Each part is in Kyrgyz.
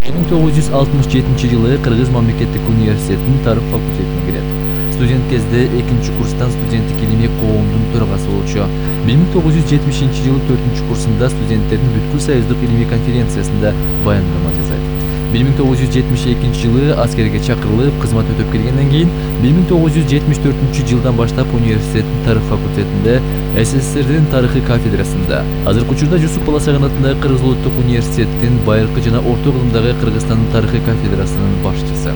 1967-жылы Кыргыз мамлекеттик университетинин тарых факультетине кирет. Студент кезде экинчи курстан студенттик илимий коомдун төрагасы болчу. 1970-жылы 4-курсунда студенттердин бүткүл союздук илимий конференциясында баяндама жасайт. 1972-жылы аскерге чакырылып, кызмат өтөп келгенден кийин 1974-жылдан баштап университеттин тарых факультетинде СССРдин тарыхы кафедрасында, азыркы учурда Жусуп Баласаган атындагы Кыргыз улуттук университеттин байыркы жана орто кылымдагы Кыргызстандын тарыхы кафедрасынын башчысы.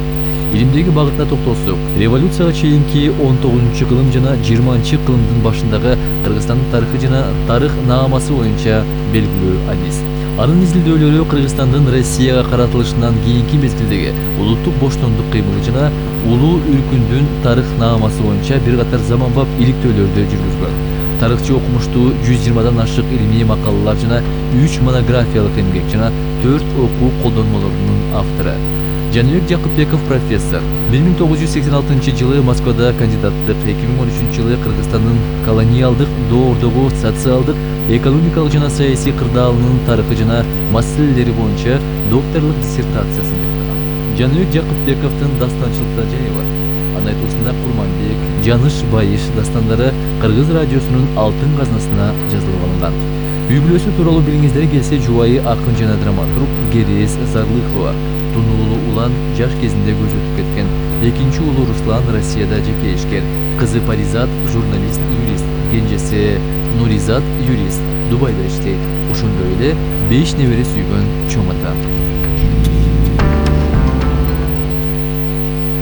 Илимдеги багытына токтолсок, революцияга чейинки 19-кылым жана 20-кылымдын башындагы Кыргызстандын тарыхы жана тарых наамасы боюнча белгилүү адис. Анын изилдөөлөрү Кыргызстандын Россияга каратылышынан кийинки мезгилдеги улуттук боштондук кыймылы жана улуу үркүндүн тарых наамасы боюнча бир катар заманбап иликтөөлөрдү жүргүзгөн. Тарыхчы окумуштуу 120дан ашык илимий макалалар жана 3 монографиялык эмгек жана 4 окуу колдонмолорунун автору. Жаныбек Жакыпбеков профессор. 1986-жылы Москвада кандидаттык, 2013-жылы Кыргызстандын колониалдык доордогу социалдык, экономикалык жана саясий кырдаалынын тарыхы жана маселелери боюнча докторлук диссертациясын жазган. Жаныбек Жакыпбековдун дастанчылыкта жайы бар. Анын айтуусунда Курманбек, Жаныш Байыш дастандары Кыргыз радиосунун алтын казнасына жазылып алынган. Үй бүлөсү тууралуу билгиңиздер келсе, жубайы акын жана драматург Керез Зарлыхова, тунуулуу улан жаш кезинде көз өтүп кеткен. Экинчи уулу Руслан Россияда жеке ишкер, кызы Паризат журналист, юрист, кенжеси Нуризат юрист, Дубайда иштейт. Ошондой эле 5 небере сүйгөн чоң ата.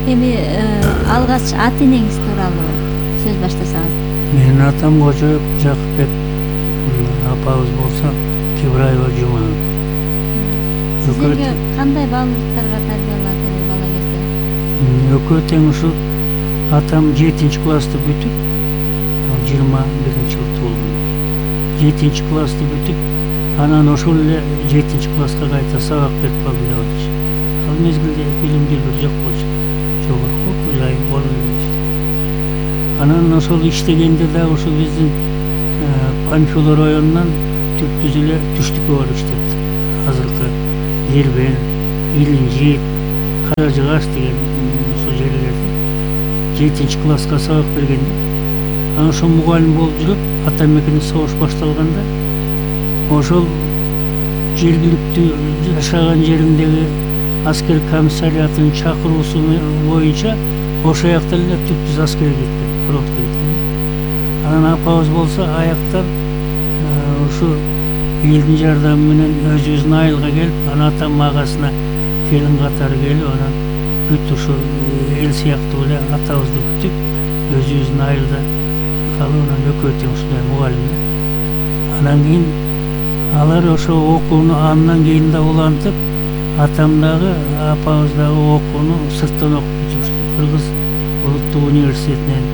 Эми алгач ат энеңиз тууралуу сөз баштасаңыз. Менин атам Кожоев Жакыпбек, апабыз болсо Кибраева Жума. Сизге кандай баалуулуктарга тарбиялады бала кезде? Экөө тең ушул атам 7-классты бүтүп, 21-жылы туулган. 7-классты бүтүп, анан ошол эле 7-класска кайта сабак берип калдым деп айтчу. Ал мезгилде билимдүүлөр жок болчу. Жогорку окуу жай болуп эле. Анан ошол иштегенде дагы ушул биздин Панфилов районунан түптүз эле түштүккө барып иштепти. Азыркы Ербен, Илинжит, Каражыгаш деген ошол жерлерде 7-класска сабак бергенде, анан ошол мугалим болуп жүрүп, ата мекенде согуш башталганда, ошол жергиликтүү жашаган жериндеги аскер комиссариатынын чакыруусу боюнча ошол жакта эле түптүз аскерге кеткен, фронтко кеткен. Анан апабыз болсо аяктан ушу элдин жардамы менен өзүбүздүн айылга келип, анан атам агасына келин катары келип, анан бүт ушу эл сыяктуу эле атабызды күтүп, өзүбүздүн айылда калып, анан экөө тең ушундай мугалимдер. Анан кийин алар ошо окууну андан кийин да улантып, атам дагы, апабыз дагы окууну сырттан окуп жүрүштү. Кыргыз улуттук университетинен